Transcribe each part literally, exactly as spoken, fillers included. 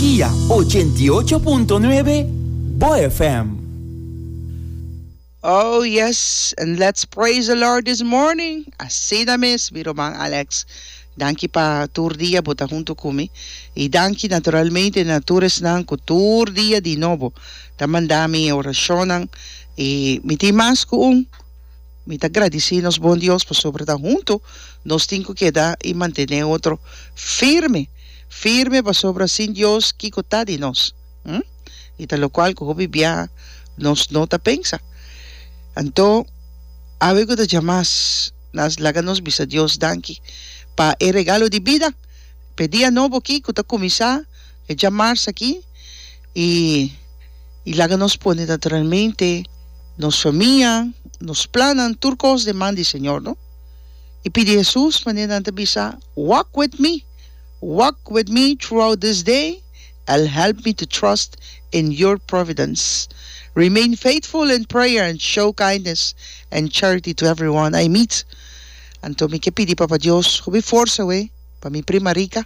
Energia ochenta i ocho punto nuebe Bo F M. Oh yes, and let's praise the Lord this morning. Asina mes, mi ruman Alex. Danki pa tur dia bo ta hunto cu mi. Y danki naturalmente na tur esnan cu tur dia di nobo ta manda mi oracion y mi tin mas cu un. Mi ta gradici nos bon Dios pasobra ta hunto nos tin cu keda y mantene otro firme. Firme pasobra sin Dios kico ta di nos. Hm? Y ta locual cu hopi bia nos no ta pensa. Anto, awe cu ta diamars, nos laga nos bisa Dios danki pa e regalo di bida. Pa e dia nobo aki cu ta cuminsa, e diamars aki, y, y laga nos pone naturalmente nos famia, nos plannan, tur cos den man di Señor, no? Y pidi Jesus, manera nan ta bisa, "Walk with me, walk with me throughout this day, and help me to trust in your providence. Remain faithful in prayer and show kindness and charity to everyone I meet." Anto mi ke pidi Papa Dios, hopi forsa we, pa mi prima Rica,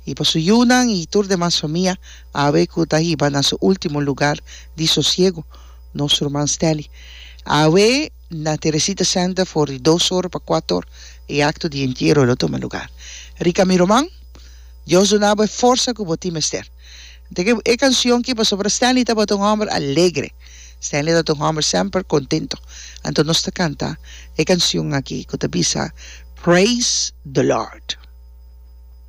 y pa su yiunan y tur demas famia, awe cu ta hiba na su ultimo lugar di sosiego, nos ruman Stanley. Awe na Teresita Center for di dos or pa cuater or, e acto di entiero lo tuma lugar. Rica, mi ruman, Dios duna bo forsa cu bo tin mester. Anto, e cancion aki pasobra Stanley tabata un homber alegre. Stanley tabata un homber semper contento. Anto nos ta canta e cancion aki cu ta bisa "Praise the Lord".